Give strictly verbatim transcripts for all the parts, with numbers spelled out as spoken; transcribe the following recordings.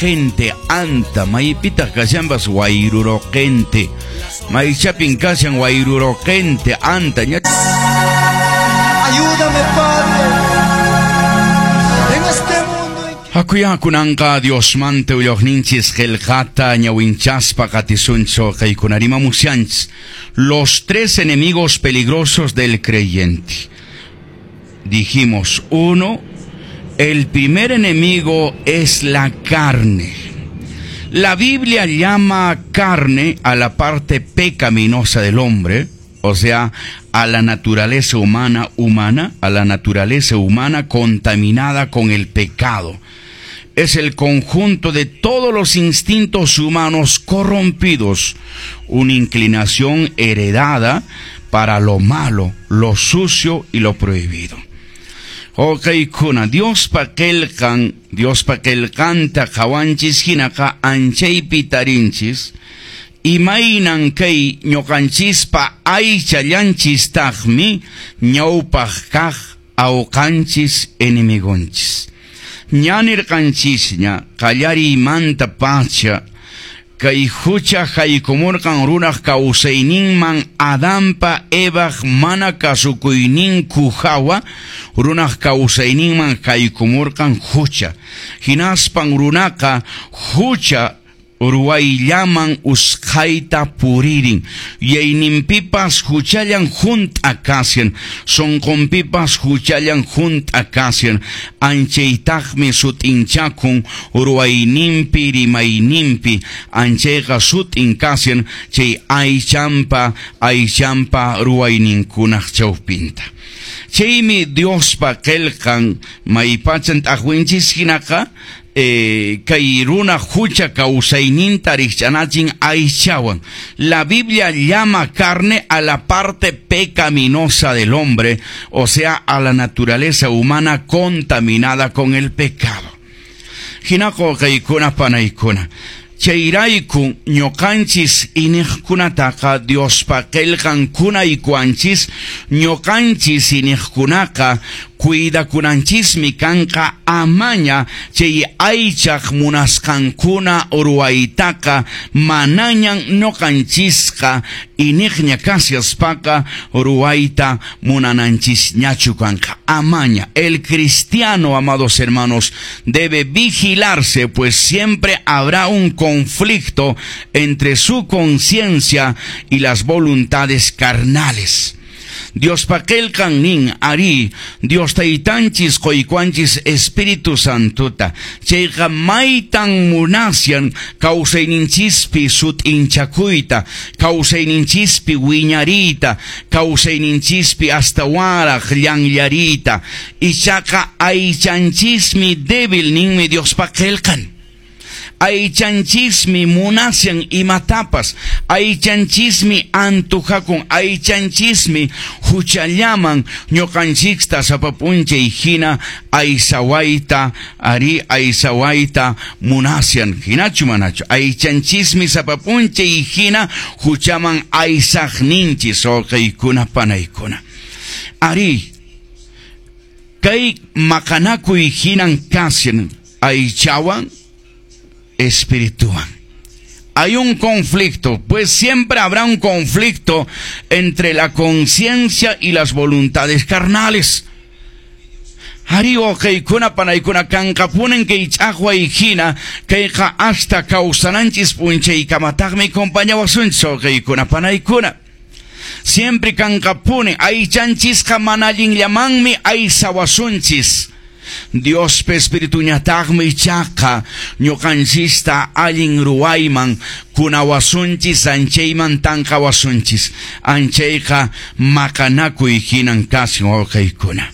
Gente anta maypitaq kashanpas Wayruruqente maychapin kashan Wayruruqente anta ña. Ayúdame, Padre, en este mundo en que Hakuya kunanqa Diosmanta willaqninchis qillqata ñawinchaspa qatisunchik kaykuna rimamushanchis los tres enemigos peligrosos del creyente. Dijimos, uno, el primer enemigo es la carne. La Biblia llama carne a la parte pecaminosa del hombre, o sea, a la naturaleza humana humana, a la naturaleza humana contaminada con el pecado. Es el conjunto de todos los instintos humanos corrompidos, una inclinación heredada para lo malo, lo sucio y lo prohibido. Wawqiykuna, Diospa qillqan, Diospa qillqanta qhawanchis hinaqa anchaypi tarinchis, imaynan kay ñuqanchispa aychallanchistaqmi ñawpaq kaq awqanchis enemigonchis. Ña nirqanchisña qallariymanta pacha kay hucha haykumurqan runaq kawsayninman Adanpa Evaq mana kasukuyninku hawa runaq kawsayninman haykumurqan hucha hinaspan runaqa hucha ruwayllaman usqhayta puririn yayninpipas huchallan hunt'a kashan sunqunpipas huchallan hunt'a kashan anchaytaqmi sut'inchakun ruwayninpi rimayninpi anchayqa sut'in kashan chay aychanpa aychanpa ruwayninkunaq chawpinta. Chaymi Diospa qillqan maypachan t'aqwinchis hinaqa eh, kay runa hucha kawsayninta rikch'anachin aychawan. La Biblia llama carne a la parte pecaminosa del hombre, o sea, a la naturaleza humana contaminada con el pecado. Hinaqa wawqiykuna panaykuna. Chayrayku ñuqanchis iniqkunataqa Diospa qillqan kunaykuwanchis ñuqanchis iniqkunaqa cuidakunanchismi kanqa amaña chay aychaq munasqankuna ruwaytaqa manañan ñuqanchisqa iniqña kashaspaqa ruwayta munananchisñachu kanqa amaña. El cristiano, amados hermanos, debe vigilarse, pues siempre habrá un conflicto entre su conciencia y las voluntades carnales. Diospa qillqan nin ari Dios taytanchis quykuwanchis Espíritu Santota chayqa maytan munashan kawsayninchispi sut'inchakuyta kawsayninchispi wiñariyta kawsayninchispi astawanraq llanllariyta ichaqa aychanchismi débil ninmi Diospa qillqan. Aychanchismi munashan imatapas, aychanchismi antujakun, aychanchismi huchallaman ñuqanchikta sapa p'unchay hina aysawayta, ari aysawayta munashan, hinachu manachu, aychanchismi sapa p'unchay hina huchaman aysaqninchis wawqiykuna panaykuna. Ari, kay maqanakuy hinan kashan aychawan espiritual. Hay un conflicto, pues siempre habrá un conflicto entre la conciencia y las voluntades carnales. Ari wawqiykuna panaykuna kanqapunin kay ch'aqway hina kayqa hasta kawsananchis p'unchaykamataqmi compañawasunchis wawqiykuna panaykuna. Siempre kanqapuni aychanchisqa mana allinllamanmi aysawasunchis. Diospa espirituñataqmi ichaqa ñuqanchista allin ruwayman kunawasunchis anchayman tanqawasunchis anchayqa maqanakuy hinan kashan wawqiykuna.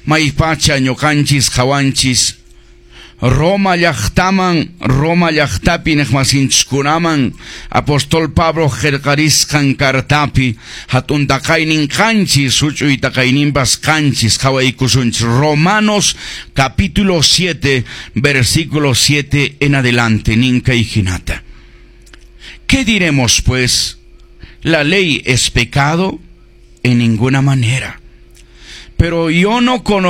Maypacha ñuqanchis qhawanchis Roma llaqtaman, Roma llaqtapi niqmasinchiskunaman apóstol Pablo qillqarisqan cartapi hatun taqaynin qanchis huch'uy taqayninpas qanchis qhawaykusunchis Romanos capítulo siete versículo siete en adelante nin kay hinata. ¿Qué diremos pues? ¿La ley es pecado? En ninguna manera. Pero yo no conozco